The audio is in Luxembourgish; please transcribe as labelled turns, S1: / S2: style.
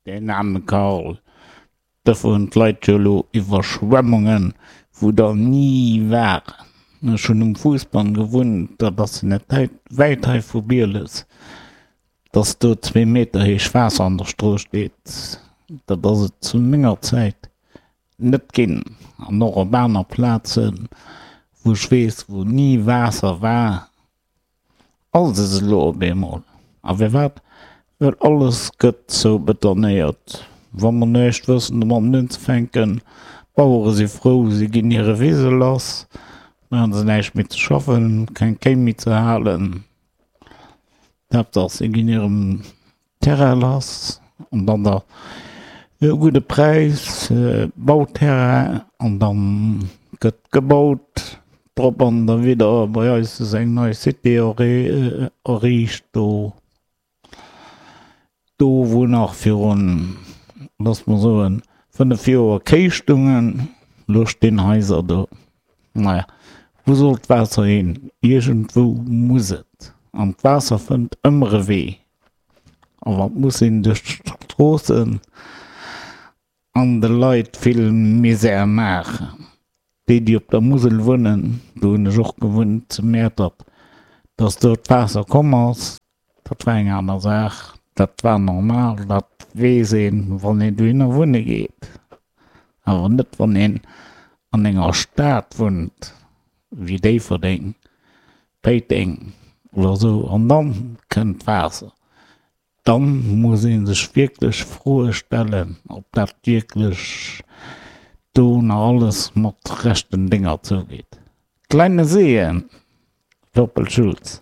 S1: Deen aarme Karl. Dofir hunn d'Leit jo elo Iwwerschwemmungen, wou der ni waren. Ech hunn um Fuussbann gewunnt, dat ass jo net wäit hei vu Bieles. Dass do zwee Meter héich Waasser an der Strooss steet, dat ass et zu menger Zäit net ginn. An och op aner Plazen, wou ech weess, wou ni Waasser war, Alles ass elo op eemol. A firwat? Well alles gëtt zoubetonéiert. Wa mer näischt wëssen domatten unzefänken, d'Bauere si frou, si ginn hire Wise lass, da hu se näischt méi ze schaffen, keng Kéi méi ze halen. D'Haaptsaach si ginn hirem Terrain lass an dann der e gudde Präis, Bauterrain an dann gëtt gebaut drop an derwidder. Bei eis ass eng nei Cité erriicht do, do wou nach virun, looss mer soen, 5 Joer Kéi stungen, elo stinn Haiser do. Naja, wou soll d'Waasser hin? Iergendwou muss et. An d'Waasser fënnt ëmmer e Wee. A wat muss sinn, duerch d'Stroossen an de Leit vill Misär maachen. Déi, déi op der Musel wunnen, do hunn ech och gewunnt zu Mäertert, dass do d'Waasser komm ass, dat war eng aner Saach, dat war normal, dat weess een, wann een dohinner wunne geet. Awer net, wann een an enger Stad wunnt, wéi Déifferdeng, Péiteng oder esou, an dann kënnt d'Waasser. Dann muss ee sech wierklech Froe stellen, ob dat wierklech do nach alles mat rechten Dénger zougeet. Kleine Seen, Wörpel Schulz.